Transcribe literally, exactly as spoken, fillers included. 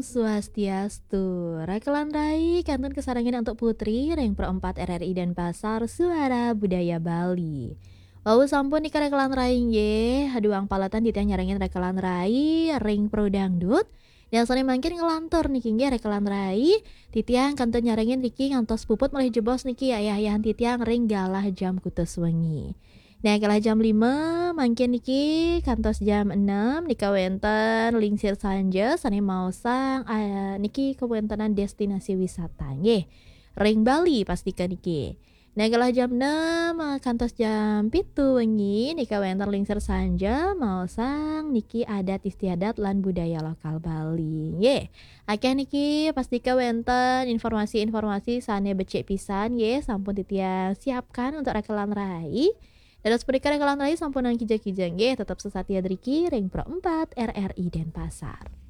Swastiastu. Rakelan rai kantun kasarengin antuk Putri ring Pro empat R R I Denpasar, Suara Budaya Bali. Wau sampun nika rakelan rai nggih, duang paletan titiang nyarengin rakelan rai ring Pro Dangdut. Dan sane mangkin nglantur niki nggih rakelan rai, titiang kantun nyarengin niki ngantos puput malih jebos niki ayah-ayahan titiang ring galah jam kutus wengi. Nah, galah jam lima mangkin niki kantos jam enam nika wenten Lingsir Sanja sane maosang, ah, niki kawentenan destinasi wisata nggih. Ring Bali pastika niki. Nah, galah jam enam, ah, kantos jam pitu wengi nika wenten Lingsir Sanja maosang niki adat istiadat lan budaya lokal Bali nggih. Akeh niki pastika wenten informasi-informasi sane becik pisan nggih sampun titiang siapkan untuk rakelan rai. Dados punika rakelan rai sampunang kija-kija nggih, tetep sesatia driki ring Pro empat R R I Denpasar.